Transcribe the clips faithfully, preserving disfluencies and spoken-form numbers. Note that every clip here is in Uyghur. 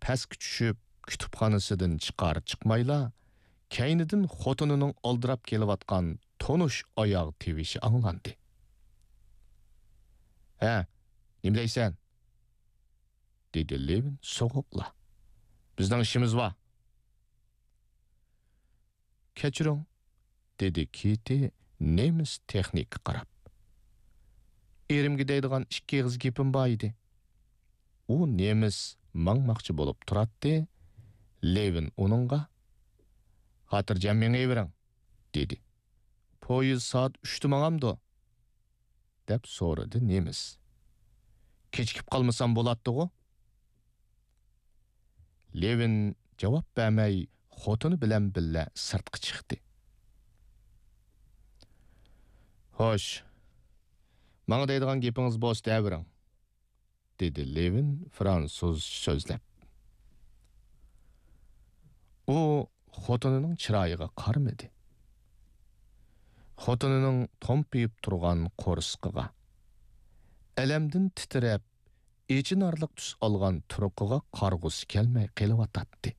پەسكە چۈشۈپ، كۇتۇپخانىسىدىن چىقار-چىقمايلا، كەينىدىن خوتۇنىنىڭ ئالدىراپ كېلىۋاتقان تونۇش ئاياغ تىۋىشى ئاڭلاندى. «ھە، نېمە دەيسەن؟» دېدى لېۋىن سوغۇقلا. «بىزنىڭ ئىشىمىز بار.» «كەچۈرۈڭ،» دېدى كېتى نېمىس تېخنىكقا قاراپ. «ئېرىمگە دەيدىغان ئىككى ئېغىز گېپىم بار ئىدى.» ئۇ نېمىس ماڭماقچى بولۇپ تۇراتتى، لېۋىن ئۇنىڭغا: «خاتىرجەم مېڭىۋېرىڭ،» دېدى. «پويىز سائەت ئۈچتە ماڭامدۇ؟» دەپ سورىدى نېمىس. «كېچىكىپ قالمىسام بولاتتىغۇ.» لېۋىن جاۋاب بەرمەي، خوتۇنى بىلەن بىللە سىرتقا چىقتى. «خوش، ماڭا دەيدىغان گېپىڭىز بولسا دەۋېرىڭ،» دېدى لېۋىن فرانسۇزچە سۆزلەپ. ئۇ خوتۇنىنىڭ چىرايىغا قارىمىدى. خوتۇنىنىڭ تومپىيىپ تۇرغان قورسىقىغا، ئەلەمدىن تىترەپ، ئېچىنارلىق تۈس ئالغان تۇرقىغا قارىغۇسى كەلمەي قېلىۋاتاتتى.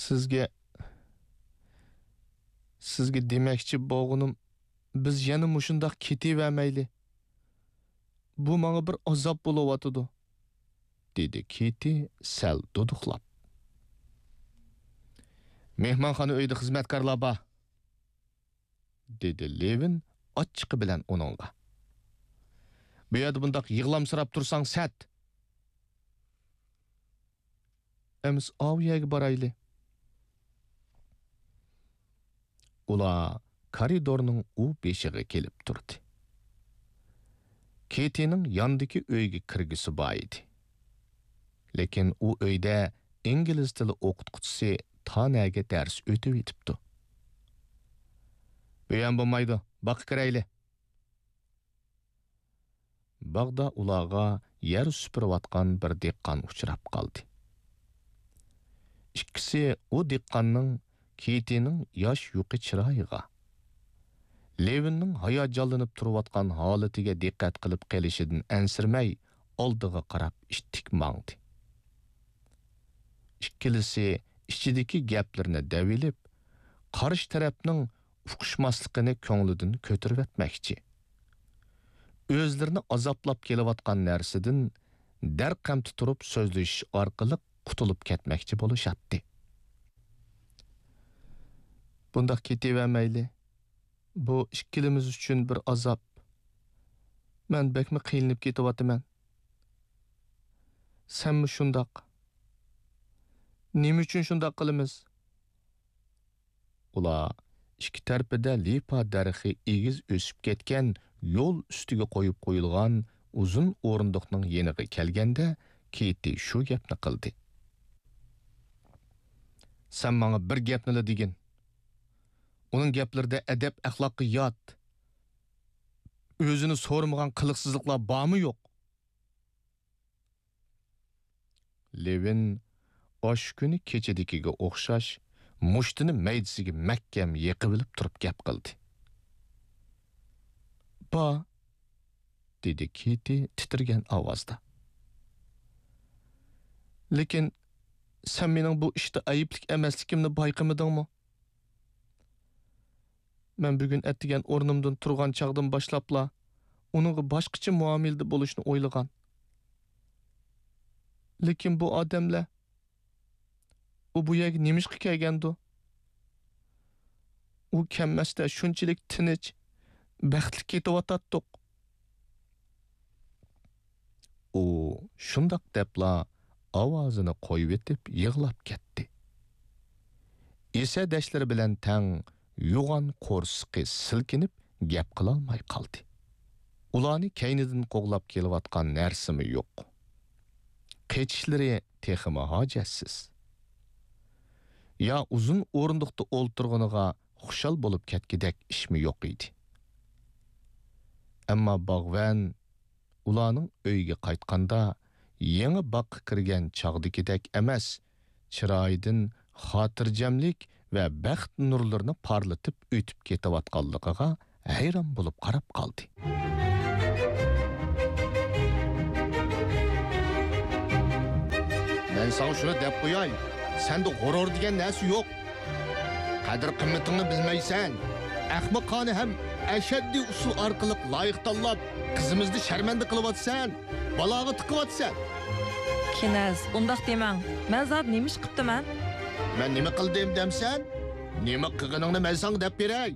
«سىزگە، سىزگە دېمەكچى بولغىنىم، بىز يەنە مۇشۇنداق كېتىۋەرمەيلى. بۇ ماڭا بىر ئازاب بولۇۋاتىدۇ،» دېدى كېتى سەل دۇدۇقلاپ. «مېھمانخانا ئۆيىدە خىزمەتكارلار بار،» دېدى لېۋىن ئاچچىقى بىلەن ئۇنىڭغا. «بۇ يەردە بۇنداق يىغلامسىراپ تۇرساڭ سەت.» «ئەمىسە ئاۋۇ يەرگە بارايلى.» ئۇلار كارىدورنىڭ ئۇ بېشىغا كېلىپ تۇردى. كېتىنىڭ ياندىكى ئۆيگە كىرگۈسى بار ئىدى. لېكىن ئۇ ئۆيدە ئىنگلىز تىلى ئوقۇتقۇچىسى تانەگە دەرس ئۆتۈۋېتىپتۇ. «بۇ يەم بولمايدۇ، باغقا كىرەيلى.» باغدا ئۇلارغا يەر سۈپۈرۈۋاتقان بىر دېھقان ئۇچراپ قالدى. ئىككىسى ئۇ دېھقاننىڭ كېتىنىڭ ياش يۇقى چىرايىغا، لېۋىننىڭ ھاياجانلىنىپ تۇرۇۋاتقان ھالىتىگە دىققەت قىلىپ قېلىشىدىن ئەنسىرىمەي، ئالدىغا قاراپ ئىتتىك ماڭدى. ئىككىلىسى ئىچىدىكى گەپلىرىنى دەۋېلىپ، قارشى تەرەپنىڭ ئۇقۇشماسلىقىنى كۆڭلىدىن كۆتۈرۈۋەتمەكچى. ئۆزلىرىنى ئازابلاپ كېلىۋاتقان نەرسىدىن دەرقەمتى تۇرۇپ سۆزلىشىش ئارقىلىق قۇتۇلۇپ كەتمەكچى بولۇشاتتى. بۇنداق كېتىۋەرمەيلى. بۇ ئىككىلىمىز ئۈچۈن بىر ئازاب. مەن بەكمۇ قىينىلىپ كېتىۋاتىمەن. سەنمۇ شۇنداق. نېمە ئۈچۈن شۇنداق قىلىمىز؟ ئۇلار ئىككى تەرىپىدە لىپا دەرىخى ئېگىز ئۆسۈپ كەتكەن يول ئۈستىگە قويۇپ قويۇلغان ئۇزۇن ئورۇندۇقنىڭ يېنىغا كەلگەندە، كېتى شۇ گەپنى قىلدى. سەن ماڭا بىر گەپنىلا دېگىن. ئۇنىڭ گەپلىرىدە ئەدەپ-ئەخلاققا يات، ئۆزىنى سورىمىغان قىلىقسىزلىقلار بارمۇ يوق؟ لېۋىن ئاشۇ كۈنى كېچىدىكىگە ئوخشاش مۇشتىنى مەيدىسىگە مەھكەم يېقىۋېلىپ تۇرۇپ گەپ قىلدى. بار، دېدى كېتى تىترىگەن ئاۋازدا. لېكىن سەن مېنىڭ بۇ ئىشتا ئەيىبلىك ئەمەسلىكىمنى بايقىمىدىڭمۇ؟ مەن بۈگۈن ئەتىگەن ئورنۇمدىن تۇرغان چاغدىن باشلاپلا ئۇنىڭغا باشقىچە مۇئامىلىدە بولۇشنى ئويلىغان. لېكىن بۇ ئادەملەر، ئۇ بۇ يەرگە نېمىشقا كەلگەندۇ؟ ئۇ كەلمەستە شۇنچىلىك تىنچ، بەختلىك كېتىۋاتاتتۇق. ئۇ شۇنداق دەپلا ئاۋازىنى قويۇۋېتىپ يىغلاپ كەتتى. ئېسە-دەشلىرى بىلەن تەڭ يوغان قورسىقى سىلكىنىپ گەپ قىلالماي قالدى. ئۇلارنى كەينىدىن قوغلاپ كېلىۋاتقان نەرسىمۇ يوق. قېچىشلىرى تېخىمۇ ھاجەتسىز. يا ئۇزۇن ئورۇندۇقتا ئولتۇرغىنىغا خۇشال بولۇپ كەتكۈدەك ئىشمۇ يوق ئىدى. ئەمما باغۋەن ئۇلارنىڭ ئۆيىگە قايتقاندا، يېڭى باغقا كىرگەن چاغدىكىدەك ئەمەس، چىرايىدىن خاتىرجەملىك ۋە بەخت نۇرلىرىنى پارلىتىپ ئۆتۈپ كېتىۋاتقانلىقىغا ھەيران بولۇپ قاراپ قالدى. مەن ساڭا شۇنى دەپ قوياي، سەندە غۇرۇر دېگەن نەرسە يوق. قەدىر-قىممىتىڭنى بىلمەيسەن. ئەخمىقانە ھەم ئەشەددىي ئۇسۇل ئارقىلىق لايىق تاللاپ، قىزىمىزنى شەرمەندە قىلىۋاتىسەن، بالاغا تىقىۋاتىسەن. كېنەز، ئۇنداق دېمەڭ. مەن زادى نېمە ئىش قىپتىمەن؟ مەن نېمە قىلدىم دەمسەن؟ نېمە قىلغىنىڭنى مەن ساڭا دەپ بېرەي.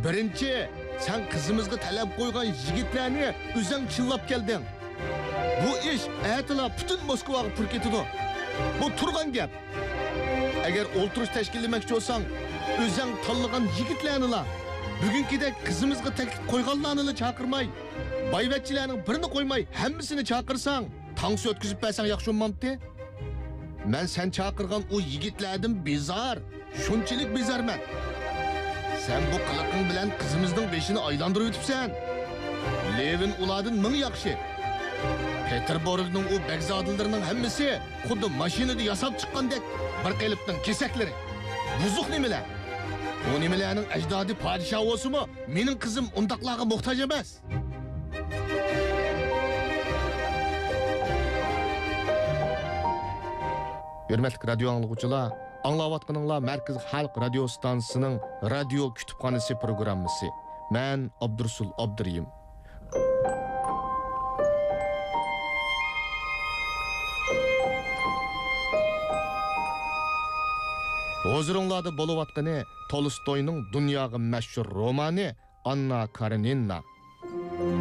بىرىنچى، سەن قىزىمىزغا تەلەپ قويغان يىگىتلەرنى ئۆزەڭ چىللاپ كەلدىڭ. بۇ ئىش ئەتىلا پۈتۈن موسكۋاغا پۇر كېتىدۇ. بۇ تۇرغان گەپ. ئەگەر ئولتۇرۇش تەشكىللىمەكچى بولساڭ، ئۆزەڭ تاللىغان يىگىتلەرنىلا، بۈگۈنكىدەك قىزىمىزغا تەكلىپ قويغانلارنىلا چاقىرماي، بايۋەچچىلەرنىڭ بىرىنى قويماي ھەممىسىنى چاقىرساڭ، تانسا ئۆتكۈزۈپ بەرسەڭ ياخشى بولمامتى؟ مەن سەن چاقىرغان ئۇ يىگىتلەردىن بىزار، شۇنچىلىك بىزارمەن. سەن بۇ قىلىقىڭ بىلەن قىزىمىزنىڭ بېشىنى ئايلاندۇرۇۋېتىپسەن. لېۋىن ئۇلاردىن مىڭ ياخشى. پېتېربۇرگنىڭ ئۇ بەگزادىلىرىنىڭ ھەممىسى خۇددى ماشىنىدا ياساپ چىققاندەك بىر قېلىپنىڭ كېسەكلىرى. بۇزۇق نېمىلەر. ئۇ نېمىلەرنىڭ ئەجدادى پادىشاھ بولسىمۇ، مېنىڭ قىزىم ئۇنداقلارغا موھتاج ئەمەس. ھۆرمەتلىك رادىيو ئاڭلىغۇچىلار، ئاڭلاۋاتقىنىڭلار مەركىزىي خەلق رادىيو ستانسىسىنىڭ رادىيو كۇتۇپخانىسى پروگراممىسى. مەن ئابدۇرۇسۇل ئابدۇرېھىم. ھۇزۇرۇڭلاردا بولۇۋاتقىنى تولستوينىڭ دۇنياغا مەشھۇر رومانى ئاننا كارېنىنا.